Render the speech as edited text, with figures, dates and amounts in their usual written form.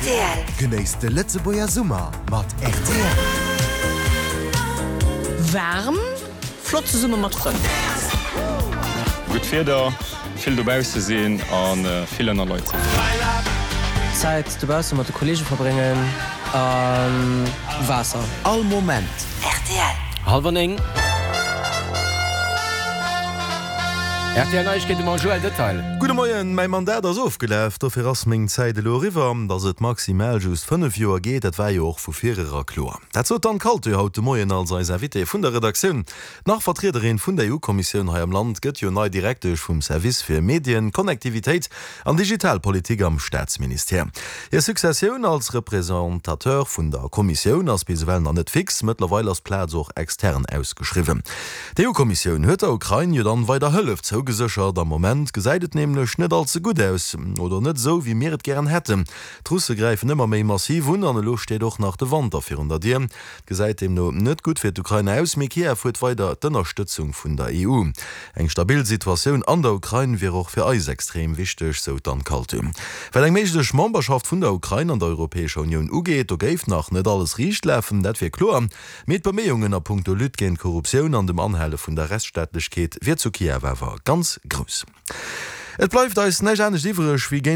Rtl. Genéisst de Lëtzebuerger Summer mat rtl. Waarm, flott zesumme mat Frënn. Gutt Wieder, vill dobausse sinn a vill ënner Leit sinn. Zäit dobausse mat de Kollege verbréngen a Waasser. All Moment. Rtl. Hallwer 9. Rtl Neiegkeete mam Joël Detail. Gudde Moien, mäi Mandat ass ofgelaf, dofir ass meng Zäit elo eriwwer. Datt et maximal just 5 Joer geet, dat war jo och vu virera kloer. Dat sot d'Anne Kaltö haut de Moien als eis Invitée vun der Redaktioun. D'Nach-Vertriederin vun der EU-Kommissioun hei am Land gëtt jo nei Direktesch vum Service fir Medien, Connectivitéit an Digitalpolitik am Staatsministère. Hir Successioun als Representateur vun der Kommissioun ass bis ewell nach net fix. Mëttlerweil ass d'Plaz och extern ausgeschriwwen. D'EU-Kommissioun huet der Ukrain jo dann weider Hëllef zougeséchert. Am Moment gesäit et nämlech net all ze gutt aus, oder net esou wéi mir et gären hätten. D'Russe gräifen ëmmer méi massiv un an elo steet och nach de Wanter virun der Dier. Et gesäit deemno net gutt fir d'Ukrain aus, mee Kiew huet weider d'Ënnerstëtzung vun der EU. Eng stabil Situatioun an der Ukrain wier och fir eis extrem wichteg, sou d'Anne Kaltö. Wat eng méiglech Memberschaft vun der Ukrain an der Europäescher Unioun ugeet, do géif nach net alles riicht lafen, dat wier kloer. Mee d'Beméiungen a punkto Lutte géint d'Korruptioun an dem Anhale vun der Rechtsstaatlechkeet wier zu Kiew awer ganz grouss. Et bleift eis näischt anescht iwwreg, wéi géint.